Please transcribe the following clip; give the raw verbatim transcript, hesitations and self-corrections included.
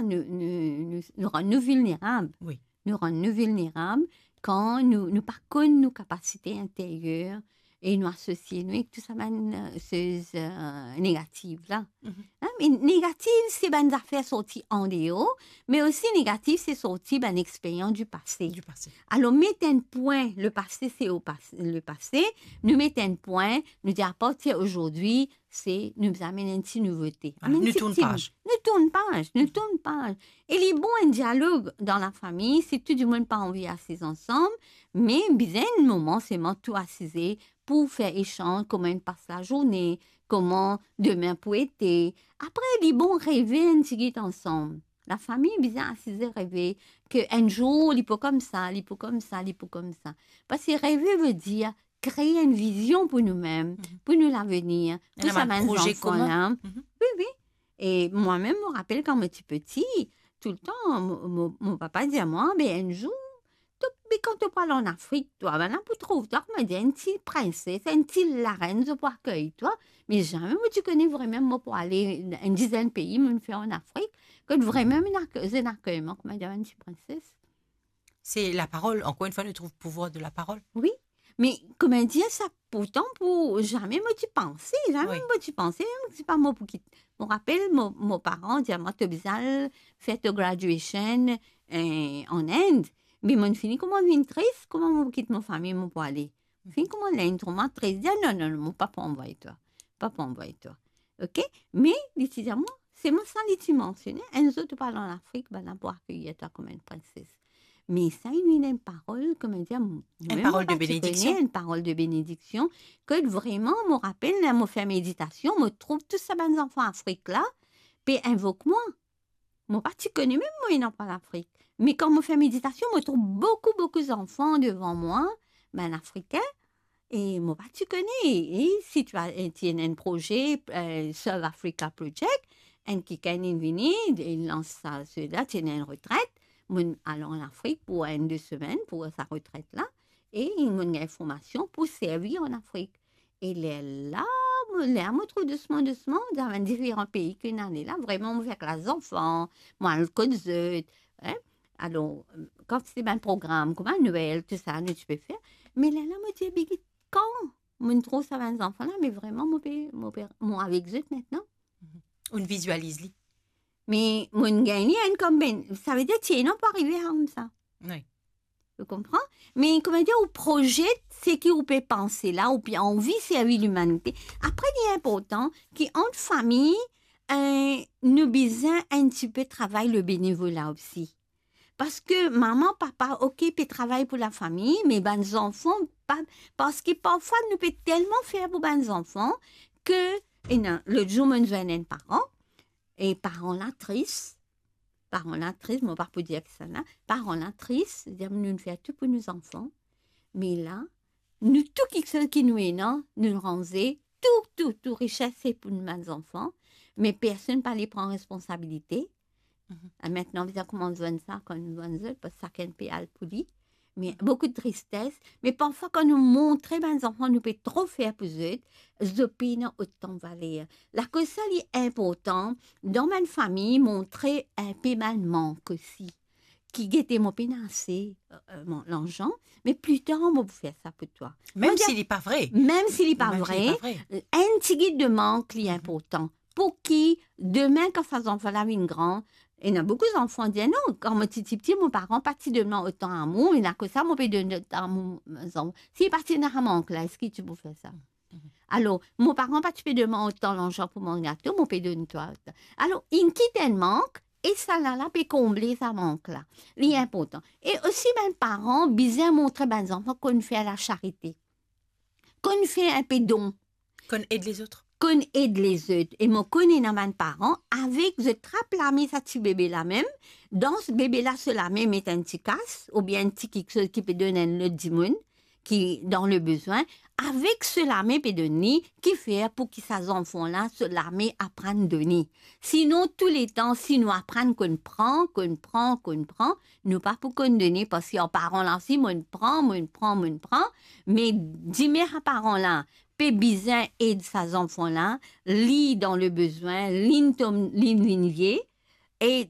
nou, nou, nou, nou rann nou vilnerab. Wi. Nou rann nou vilnerab kan nou, nou pa konn nou kapasite interyer e nou asosie nou ek tou sa bann, eh, soz, eh, negativ la. Mhm. Hein, me negativ, se bann zafer sorti andeor, me osi negativ, se sorti bann experyans di pase. Di pase. Alor, met enn pwin, le pase, se o pas-, le pase, nou met enn pwin, nou dir, apartir azordi, se nou bizin amenn enn ti nouvote. Ah, amenn nou ti tourn paz. Nou tourn paz, nou tourn paz. E li bon enn dialog dan lafami, si tou dimoun pa anvi asiz ansam, me bizin enn moman selman tou asize pou fer esanz, kouma inn pas lazourne, kouma demin pou ete. Apre, li bon reve enn tigit ansam. Lafami bizin asize reve ke enn zour li pou koumsa, li pou koumsa, li pou koumsa. Parski reve vedir kree enn vizion pou noumem, mhm, pou nou lavenir, pou sa bann zanfan la. Mhm. Wi, wi. E mwa mem, mo rapel kan mo ti piti, toultan, mo, mo, mo papa dir mwa, "Be, enn zour, to, be, kan to pou al an Afrik, twa, bann la pou trouv twa, kouma dir, enn ti prinses, enn ti larenn, zot pou akey twa." Me zame mo ti kone vremem mo pou ale enn dizenn pei, mo fer an Afrik, kot vremem inn ak-, zot inn akey mwa, kouma dir, enn ti prinses. Se laparol, ankor enn fwa, nou trouv pouvwar de laparol. Wi, me kouma dir sa, pourtan pou zame mo ti panse, zame, wi, mo ti panse, mem si pa mo pou kit. Mo rapel, mo, mo paran dir mwa, "To bizin al fer to graduation, eh, an Inde." Me mo fini kouma vinn tris, kouma mo pou kit mo fami, mo pou ale. Fini kouma vinn troma tris, dir, "Non, non, non, mo pa pou anvway twa. Pa pou anvway twa." Ok? Me li ti dir mwa, selman sa li ti mansione, enn zour to pou al an Afrik, bann la pou akeyir twa kouma enn prinses. Me sa inn vinn enn parol, kouma dir, mo, enn parol de benediksion. Enn parol de benediksion, ke vremem, mo rapel, ler mo fer meditasion, mo trouv tou sa bann zanfan Afrik la, pe invok mwa. Mo pa ti kone mem mo ena pa Lafrik. Me kan mo fer meditasion, mo trouv boukou, boukou zanfan devan mwa, bann Afrikin, e mo pa ti kone. E si ti a, ti ena enn proze, eh, Serve Africa Project, enn kikenn inn vini, inn lans sa, sela, ti ena enn retret, mo'nn al an Afrik pou enn de semenn pou sa retret la, e mo'nn gagn formasion pou servi an Afrik. E lerla, mo, ler mo trouv dousman, dousman, dan bann diferan pei ki inn ale la, vremem, mo fer klas zanfan, mo al kot zot, hein. Alor, kan ti ena bann program, kouma Nwel, tou sa, nou ti pe fer. Me lerla, mo dir, "Be, kan mo'nn trouv sa bann zanfan la, me vremem, mo pe, mo pe, mo avek zot aster." Ou'nn vizializ li. Me mo'nn gagn li enn koumsa, savedir ti ena pou arive koumsa. Wi. Ou konpran? Me, kouma dir, ou proze seki ou pe panse la, ou pe anvi servi limanite. Apre, li inportan ki ant fami, eh, nou bizin enn tipe travay le benevola osi. Parski mama, papa, ok, pe travay pou lafami, me bann zanfan, pa, parski parfwa nou pe telman fer pou bann zanfan ke, ena, lot zour, mo'nn zwenn enn paran, e paran la tris, paran la tris, mo pa pou dir kisannla, paran la tris, dir, "Nou'nn fer tou pou nou zanfan, me la, nou tou kiksoz ki nou ena, nou ranze, tou, tou, tou rises se pou nou bann zanfan, me personn pa le pran responsabilite." Mhm. E aster, bizin koumans zwenn sa, kan nou zwenn zot, parski sakenn pe al pou li. Me boukou tristes, me parfwa kan nou montre bann zanfan nou pe tro fer pou zot, zot pena otan valer. Lakoz sa li inportan, dan bann fami, montre inpe bann mank osi. Ki gete, mo pena ase, eh, eh, mo, larzan, me pli tar mo pou fer sa pou twa. Mem si li pa vre. Mem si li pa vre, enn tigit de mank li inportan. Pou ki demin, kan sa zanfan la vinn gran, ena boukou zanfan dir, "Non, kan mo ti, ti piti, mo paran pa ti donn mwa otan amour, me lakoz sa, mo pe donn zot amour, mo zanfan." Si pa ti ena mank la, eski ti pou fer sa? Mhm. Alor, mo paran pa ti pe donn mwa otan larzan pou manz gato, mo pe donn twa otan. Alor, inn kit enn mank, e sa la, la pe konble sa mank la. Li inportan. E osi, bann paran bizin montre bann zanfan konn fer lasarite. Konn fer inpe don. Konn ed lezot. Konn ed lezot. E mo konn ena bann paran, avek zot trap lame sa ti bebe la mem, dan bebe la so lame met enn ti kas, oubien enn ti kiksoz ki pe donn enn lot dimoun ki dan le bezwin, avek so lame pe donn li, ki fer pou ki sa zanfan la, so lame aprann done. Sinon, touletan, si nou aprann konn pran, konn pran, konn pran, nou pa pou konn done, parski an paran la osi, mo'nn pran, mo'nn pran, mo'nn pran, me dime sa paran la pe bizin ed sa zanfan la, li dan le bezwin, li'nn tom, li'nn vinn vie, e